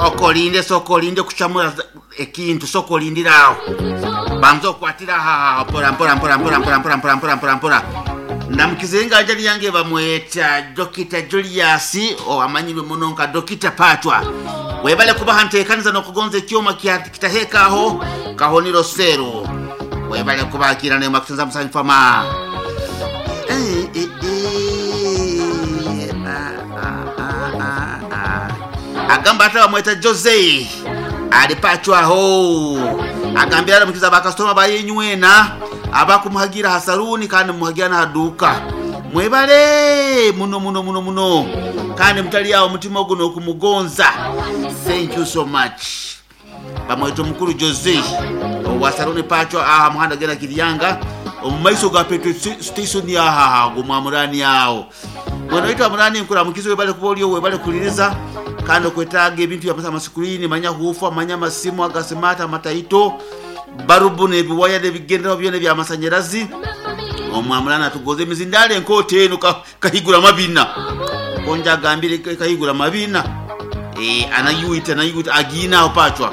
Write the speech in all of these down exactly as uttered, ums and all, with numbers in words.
Okolinde, sokolinde kuchamura ekintu, sokolindirawo banza okwatira aha mpora mpora mpora mpora mpora mpora mpora mpora mpora mpora. Ndamukizenga ajali yange bamweta Dokita Julius, owamanyirwe muno nka Dokita Patwa. Webale kubaha ntekaniza nokugonza ekyoma kitahekaho kahoniro sero. Webale kubakira ne makutunza musanyi fama. Eh, eh, eh, ah, ah, ah, ah. Agamba ata bamweta Jose alipachwaho, agambira aramukiza bakasitoma bayenywena abakumuhagira hasaruni kandi mumuhagira nahaduka. Mwebale muno muno muno muno, kandi mutali awo omutima ogwo nokumugonza. Thank you so much. Bamweta omukuru Jose owa saruni Pachwa aha muhanda genda Kiryanga omu maiso ga petrol station aha gumwamurani awo. Mwena waitu amurani nkuramukiza, webale kuba oliyo, webale kuliriza kandi okwetaaga ebintu byamasa amasikulini, manya hufa, manya amasimu agasimata, amataito, barubu n'ebiwaya n'ebigenderaho byona ebyamasanyarazi. Omwamurani atugoza emizindalo enkoota eno kahigura mabina konja agambire kahigura mabina e, anayuita anayuita agiina aho Pachwa.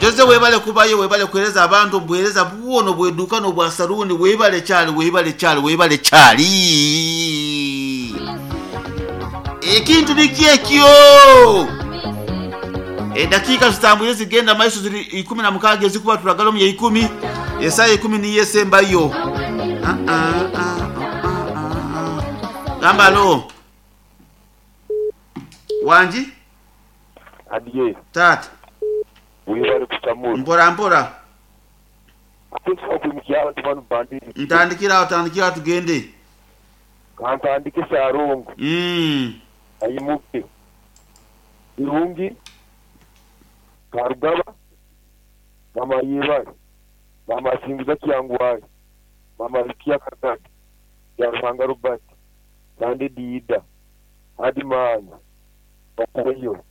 Jose webale kubayo, webale kuhereza abantu obuhereza bwono bweduka n'obwa saruni. Webale kyali, webale kyali, webale kyali. Ekintu nikyekyo. Edakiika zitambwire zigenda maiso, ziri ikumi na mukaaga ezikuba turagala omu ya ikumi, esaaha ikumi niyo esembayo. Ah, ah, ah, ah, ah, ah. Gamba alo wangi. Adiye. Tata. Webale kusamura. Mpora mpora. Kutusa kuimukia abantu bano bandiri. Ntandikira awo, tandikira awo tugende. Kantandike sarungu. Mm. Ayimuke. Irungi. Karugaba. Mama yebale. Mama singiza kyangwaye. Mama Rukia Kakati. Ya Ruhanga Robert. Sande Diida. Hadi Maanya. Bakoyo.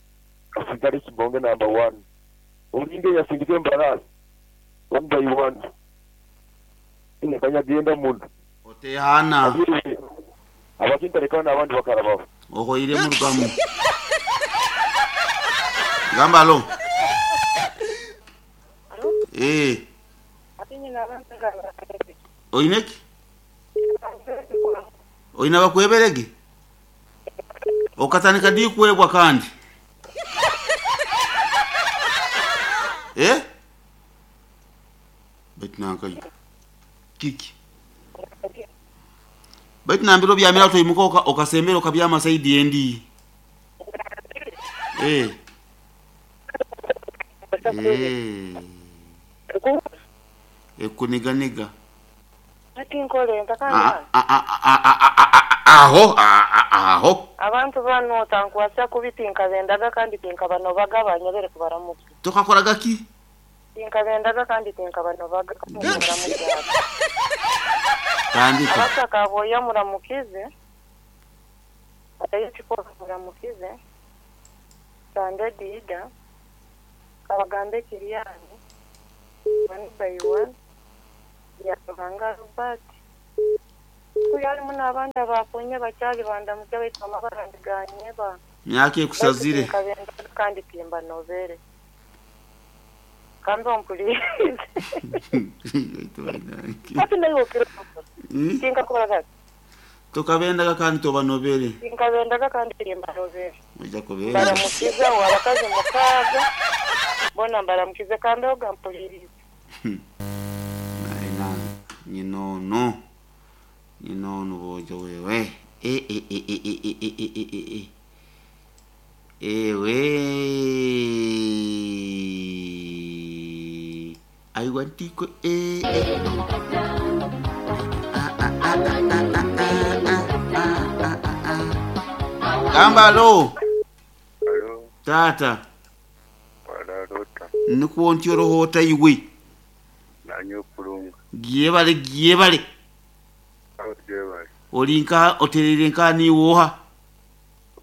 Asigare Kibonge number one. Olinge yasingize mbarasi. One by one. Ine kanyagenda muno. Otehana. Abakintareka n'abandi bakarabaho. Ohoire murugamu. Gamba alo. Eh. Oineki? Oina bakweberege? Okatandika di kwebwa kandi? Eh? Baitu nankayo. Kiki? Baitu nambiro byamira toyimuka okasembera okabyama saidi endi. Eh. Eh. Ekuniganiga. Ati nkole ntakana. Ah ah ah ah aho aho. Abantu bano tankwasa kubitinka bendaga kandi tinka bano bagabanya bere kubaramuka. Tokakoraga ki? Tinka bendaga kandi tinka bano bagabanya. Tandika. Abasaka boya muramukize. Atayo chiko muramukize. Sande Dida. Kabagambe Kiriyani. One by one. Ya Ruhanga Robert. Kuyali muno abandi abakonye bakyali bandamukya baitu amabarandiganye ba. Myaka ekusazire. Kandi timba novere. Kandi ompulirize. Ati nayo okiro. Tinka kubaraga. Tokabendaga kandi tobanovere. Tinkabendaga kandi timba novere. Ojja kubera. Baramukiza abakazi mukaaga. Bona mbaramukize kandi ogampulirize. Naina nyinono. Nyinono bojo wewe. E e e e e e e e e e. Ewe. I want to go eh eh. Ah ah ah ah ah ah ah ah ah. Gamba alo. Alo. Tata. Wararota. Nikuwo ntyo rohota iwe. Nanyo kulunga. Gyebale gyebale. Gyebale. Olinka oterere nka niwoha.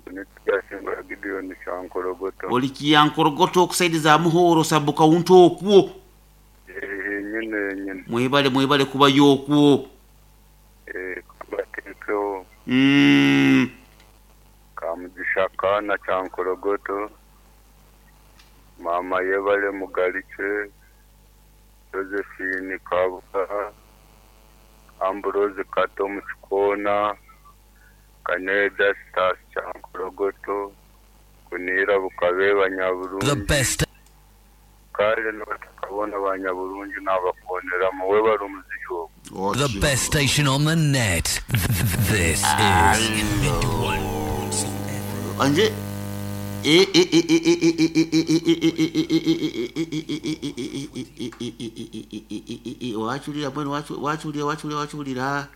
Nityasinga Gideon Kyankorogoto. Oli Kyankorogoto okusaidiza Muhoro sabuka unto okwo. Eh nyine nyine. Mwebale mwebale kuba yokwo. Eh kubateekeo. Mm. Yohana Kyankorogoto, Mama Yebale Mugalikye, Josephine Kabuga, Ambrose Kato Mukikona, Kaneda Stas Kyankorogoto, Kunira Bukabe The Banyaburungi, best kale n'abatakabona Banyaburungi n'abakoneramu we bari omuziki ogwo. the best station on the net. This is anje wachulira mwene wachulira wachulira wachulira.